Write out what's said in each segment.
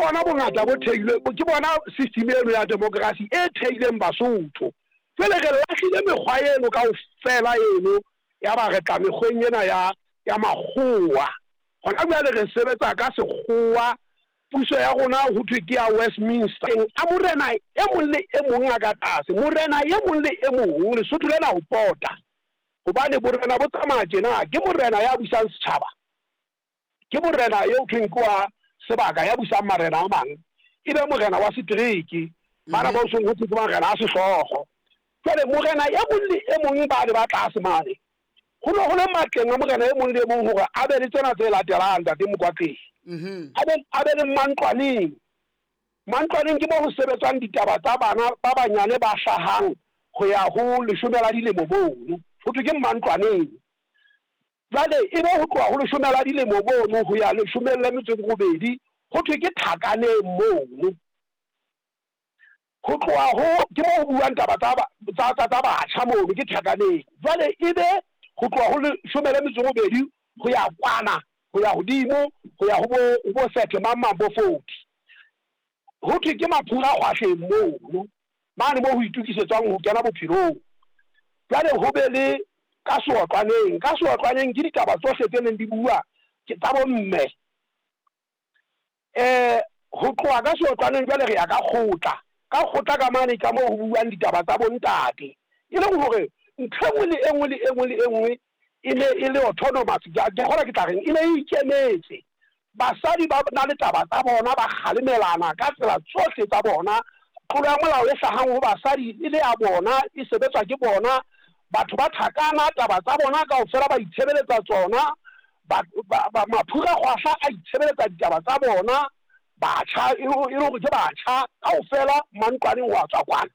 bona bongata bo theilwe, ke bona system eno ya democracy e theileng Basotho. Jwale re lahlile mekgwa eno kaofela eno, ya ba re tla mekgweng ena ya ya makgowa. Hona jwale re sebetsa ka sekgowa, puso ya rona ho thwe ke ya Westminster. A morena e mong le e mong a ka tlase, morena e mong le e mong, Lesotho lena ho pota. Hobane borena bo tsamaya tjena, ke morena ya busang setjhaba, ke morena eo thweng ke wa sebaka ya busang marena a mang, e be morena wa setereke, bana ba seng ho thwe ke marena a sehlooho. Jwale morena e mong le e mong ba ne ba tlase mane, ho ne ho le matleng a morena e mong le e mong hore a be le tsena tse latelang, Ntate Mokwatleng. A be le mantlwaneng. Mantlwaneng ke moo ho sebetswang ditaba tsa bana ba banyane ba hlahang ho ya ho leshome la dilemo mono. Ho thwe ke mantlwaneng. Jwale e be ho tloha ho leshome la dilemo mono ho ya leshomeng le metso e robedi, ho thwe ke thakaneng mono. Ho tloha ho, ke moo ho buuwang taba tsa, tsa, tsa, tsa batjha mono, ke thakaneng. Jwale e be ho tloha ho leshome le metso e robedi ho ya kwana, ho ya hodimo, ho ya ho bo, ho bo sethe mang mang bo 40. Ho thwe ke maphura kgwahleng mono, mane moo ho itokisetswang ho kena bophelong. Jwale ho be le ka seotlwaneng. Ka seotlwaneng ke ditaba tsohle tse neng di bua ke tsa bomme. Ho tloha ka seotlwaneng jwale re ya ka kgotla. Ka kgotla ka mane ka moo ho buuwang ditaba tsa bontate. E leng hore ntho e nngwe le e nngwe le e nngwe le e nngwe e ne e le autonomous, ke a kgolwa ke tla reng, e ne e ikemetse. Basadi ba na le taba tsa bona, ba kgalemelana ka tsela tsohle tsa bona. Tlolo ya molao e hlahang ho basadi e le ya bona, e sebetswa ke bona. Batho ba thakana, taba tsa bona kaofela ba itshebeletsa tsona. Maphura kgwahla a itshebeletsa ditaba tsa bona. Batjha, e le hore ke batjha kaofela mantlwaneng ho a tswa kwana.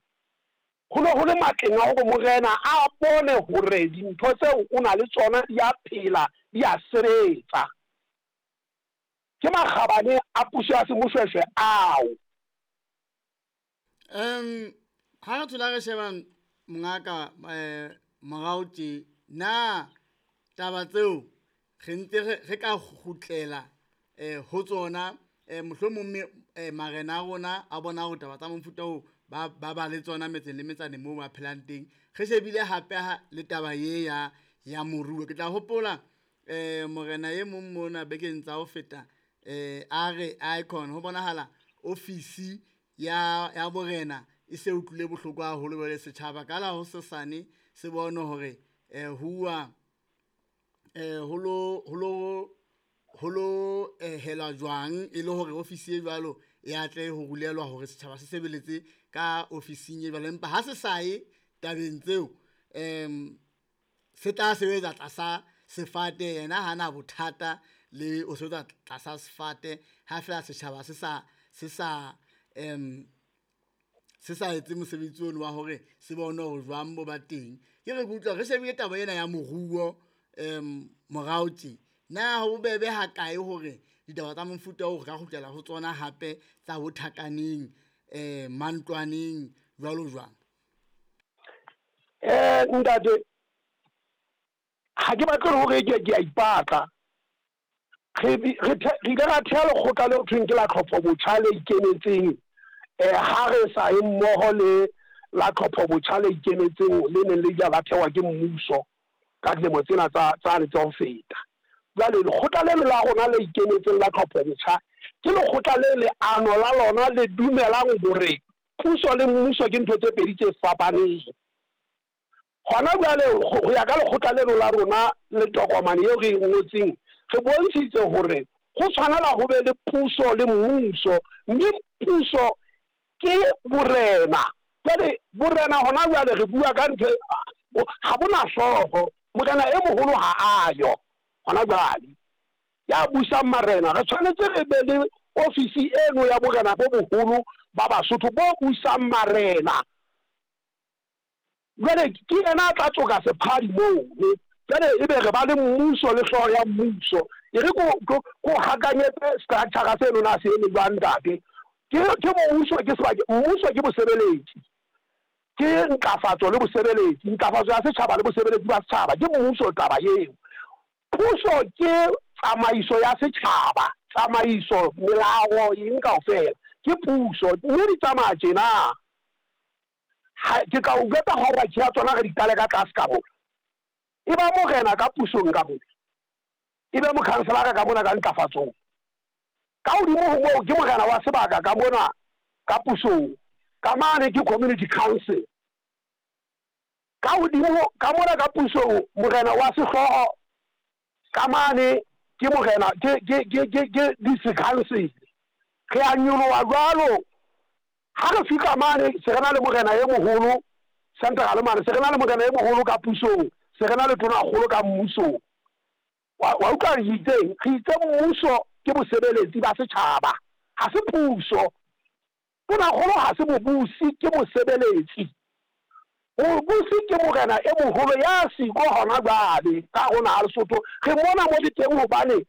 Ho ne ho le matleng a hore morena a bone hore dintho tseo o na le tsona di a phela, di a sebetsa. Ke makgabane a puso ya semoshweshwe ao. Ha re thola re sheba mongaka morao tje, na taba tseo re ntse re ka kgutlela ho tsona, mohlomong marena a rona a bona hore taba tsa mofuta oo ba ba le tsona metseng le metsaneng moo ba phelang teng. Re shebile hape le taba ye ya moruo. Ke tla hopola morena e mong mona bekeng tsa ho feta, a re icon ho bonahala ofisi ya borena e se utlwile bohloko haholo jwale setjhaba ka la hosesane se bone hore huwa ho lo hela jwang e le hore ofisi e jwalo e atle ho rulelwa hore setjhaba se sebeletse ka ofising e jwalo. Empa ha se sa ye tabeng tseo, se tla sebetsa tlasa sefate, yena ha na bothata le o sebetsa tlasa sefate ha fela setjhaba se sa etse mosebetsi ono wa hore se bone hore jwang bo ba teng. Ke re ke utlwa re shebile taba ena ya moruo morao tje, na ho bobebe ha kae hore ditaba tsa mofuta oo re ka kgutlela ho tsona hape tsa bo thakaneng, mantlwaneng jwalo jwalo? Ntate, ha ke batle hore ke a ipatla. Re ile ra theha lekgotla leo thweng ke la tlhopho botjha le ikemetseng, ha re sa ye mmoho le la tlhopho botjha le ikemetseng le neng le ile la thehwa ke mmuso ka dilemo tsena tsane tsa ho feta. Jwale lekgotla leno la rona le ikemetseng la tlhopho botjha ke lekgotla le leano la lona le dumelang hore puso le mmuso ke ntho tse pedi tse fapaneng. Hona jwale ho ya ka lekgotla leno la rona le tokomane eo re e ngotseng, re bontshitse hore ho tshwanela ho be le puso le mmuso, mme puso ke borena. Jwale borena hona jwale re bua ka ntho ha bona hlooho, morena e moholo ha a yo hona jwale ya busang marena. Re tshwanetse re be le ofisi eno ya borena bo boholo ba Basotho bo busang marena. Jwale ke yena a tla tsoka sephadi mono. Jwale ebe re ba le mmuso le hlooho ya mmuso. E re ko hakanyetse structure seno na se eme jwang, ntate. Ke mmuso, ke sebake, mmuso ke bosebeletsi, ke ntlafatso le bosebeletsi, ntlafatso ya setjhaba le bosebeletsi ba setjhaba, ke mmuso taba eo. Puso ke tsamaiso ya setjhaba. Tsamaiso, melao, eng kaofela ke puso, mme di tsamaya tjena. Ha, ke tla u jwetsa hierarchy ya tsona re di qale ka tlase ka mona. E ba morena ka pusong ka mona, e be mokhanselara ka mona ka ntlafatsong. Ka hodimo ho moo ke morena wa sebaka ka mona ka pusong, ka mane ke community council. Ka hodimo ka mona ka pusong morena wa sehlooho ka mane ke morena ke ke ke ke ke district council. Re a nyoloha jwalo ha re fihla mane se re na le morena e moholo central mane se re na le morena e moholo ka pusong se re na le tonakgolo ka mmusong. Wa wa utlwa re itseng? Re itse mmuso ke bosebeletsi ba setjhaba ha se puso. Tonakgolo ha se mobusi ke mosebeletsi. Mobusi ke morena e moholo ya siko hona jwale ka hare ho naha Lesotho. Re mona mo le teng hobane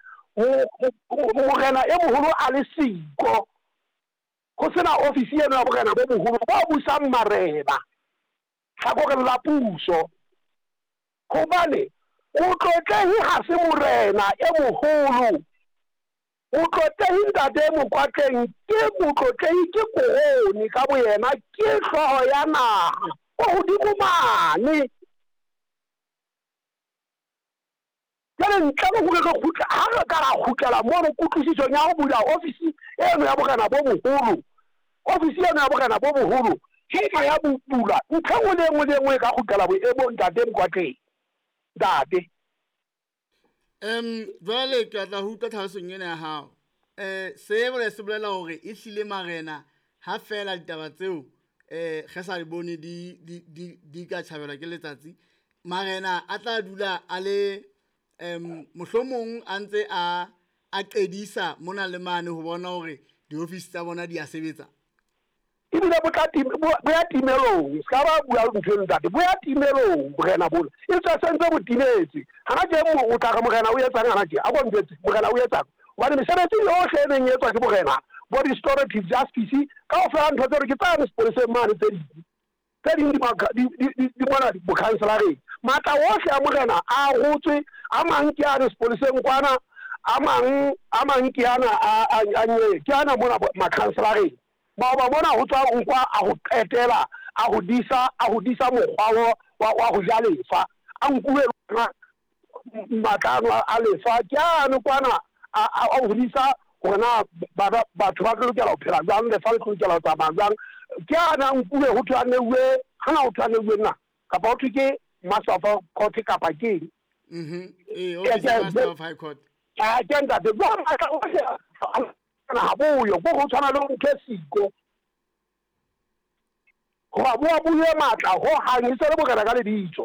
morena e moholo a le siko. Ho sena ofisi eno ya borena bo boholo bo busang marena hlakoreng la puso. Hobane motlotlehi ha se morena e moholo. Motlotlehi Ntate Mokwatleng ke motlotlehi ke korone ka boyena ke hlooho ya naha ko hodimo mane. Jwale ntle le hore re kgutle, ha re ka ra kgutlela mono kutlwisisong ya ho bula ofisi eno ya borena bo boholo, ofisi eno ya borena bo boholo ha e ka ya bulwa, ntho e nngwe le e nngwe le e nngwe e ka kgutlela boemong Ntate Mokwatleng. Ntate. Jwale ke batla ho utlwa tlhalosong ena ya hao. Se bole se bolela hore e hlile marena ha feela ditaba tseo re sa di bone di di di di ka tjhabelwa ke letsatsi, marena a tla dula a le mohlomong a ntse a a qedisa mona le mane ho bona hore diofisi tsa bona di a sebetsa. Ebile bo tla bo ya timelong. Se ka ba bua ntho eno ntate, bo ya timelong borena bona. E tswe se ntse bo timetse. Hana tje o tla re morena o etsang hana tje? A ko ntjwetse, morena o etsang? Hobane mesebetsi yohle e neng e etswa ke borena, bo restorative justice, kaofela ntho tseno ke tsane sepoleseng mane tse ding. Tse ding di di di di mona bokhanselareng. Matla ohle a morena a arotswe, a mang ke ane sepoleseng kwana, a mang a mang ke ana a a a ke ana mona makhanselareng. Maoba mona ho tswa nkwa a ho qetela a ho disa a ho disa mokgwa wa wa ho ja lefa. A nkuwe lona matla ano a lefa ke ane kwana a a hodisa hore na bana batho ba tlo lokela ho phela jwang, lefa le tlo lokela ho tsamaya jwang. Ke ana a nkuwe ho thwe a neuwe, hana ho thwe a neuwe nna kapa ho thwe ke Master of Court kapa ke eng. Ee, office ya Master of High Court. Ke ntate, jwale matla ohle ha boyo, ko ho tshwana le ntho e siko. Hoba bo a buye matla ho hang e se le borena ka lebitso.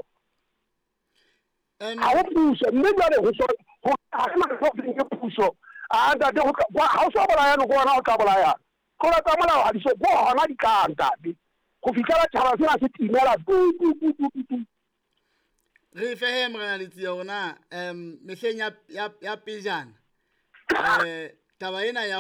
Ha ho puso, mme jwale ho so ho ha re na ntho ke puso. A ntate ho ha o so bolayane ko hona ho tla bolayana. Tlola tsa molao ha di so ko hona di tla ntate. Ho fihlela tjhaba sena se timela tu tu tu tu tu tu. Re fehe morena Letsie hore na mehleng ya ya ya pejana taba ena ya